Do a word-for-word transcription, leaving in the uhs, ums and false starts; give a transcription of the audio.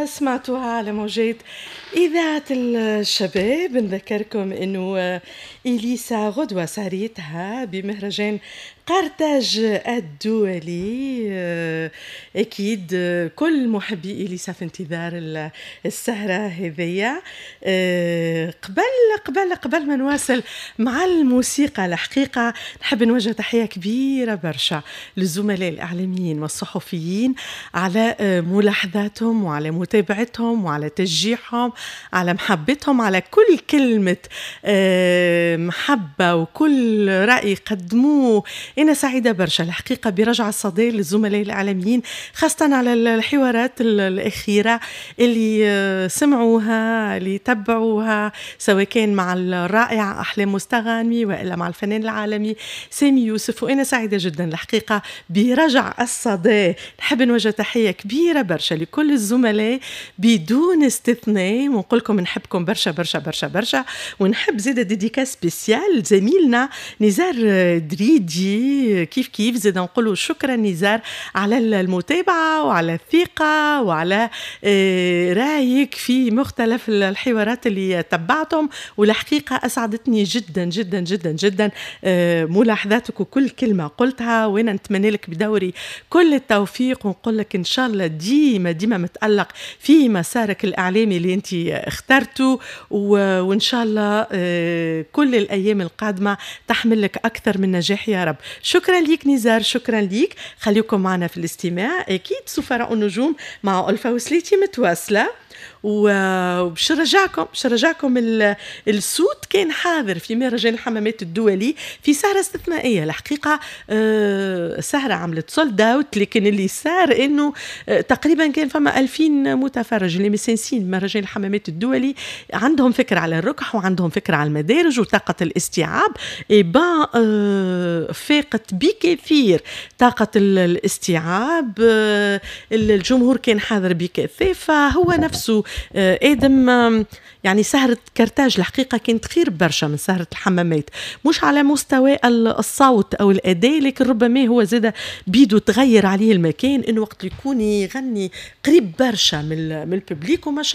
سمعتوها على موجات إذاعة الشباب. نذكركم أنه إليسا غدوة سهريتها بمهرجان قرطاج الدولي. أكيد كل محبي إليسا في انتظار السهرة هذية. قبل قبل قبل ما نواصل مع الموسيقى، الحقيقة نحب نوجه تحية كبيرة برشا للزملاء الإعلاميين والصحفيين على ملاحظاتهم وعلى متابعتهم وعلى تشجيعهم، على محبتهم، على كل كلمة محبة وكل رأي قدموه. أنا سعيدة برشا الحقيقة برجع الصدى للزملاء الإعلاميين، خاصة على الحوارات الأخيرة اللي سمعوها، اللي تبعوها، سواء كان مع الرائع أحلام مستغانمي وإلا مع الفنان العالمي سامي يوسف. وأنا سعيدة جدا الحقيقة برجع الصدى. نحب نوجه تحية كبيرة برشا لكل الزملاء بدون استثناء، ونقول لكم نحبكم برشا برشا برشا برشا. ونحب زيد dédicace spéciale زميلنا نزار دريدي، كيف كيف زيد نقولوا شكرا نزار على المتابعة وعلى الثقة وعلى رايك في مختلف الحوارات اللي تبعتهم. والحقيقة أسعدتني جدا جدا جدا جدا ملاحظاتك وكل كلمة قلتها، وأنا نتمنى لك بدوري كل التوفيق، ونقول لك إن شاء الله ديما ديما متألق في مسارك الإعلامي اللي أنت اخترته، وإن شاء الله كل الأيام القادمة تحمل لك أكثر من نجاح يا رب. شكرا ليك نزار، شكرا ليك. خليكم معنا في الاستماع، أكيد سفراء النجوم مع ألفا وسليتي متواصلة. وباش نرجعكم باش نرجعكم الصوت كان حاضر في مهرجان الحمامات الدولي في سهرة استثنائية الحقيقة. سهرة عملت sold out، لكن اللي صار انه تقريبا كان فما ألفين متفرج اللي مسنسين مهرجان الحمامات الدولي، عندهم فكرة على الركح وعندهم فكرة على المدارج وطاقة الاستيعاب. eh ben فاقت بكثير طاقة الاستيعاب، الجمهور كان حاضر بكثافة. هو نفسه ادم يعني سهرة كرتاج الحقيقة كانت خير برشا من سهرة الحمامات، مش على مستوى الصوت أو الأداء، لكن ربما هو زاد بيدو تغير عليه المكان، إنه وقت يكون يغني قريب برشا من من ال public وما شاء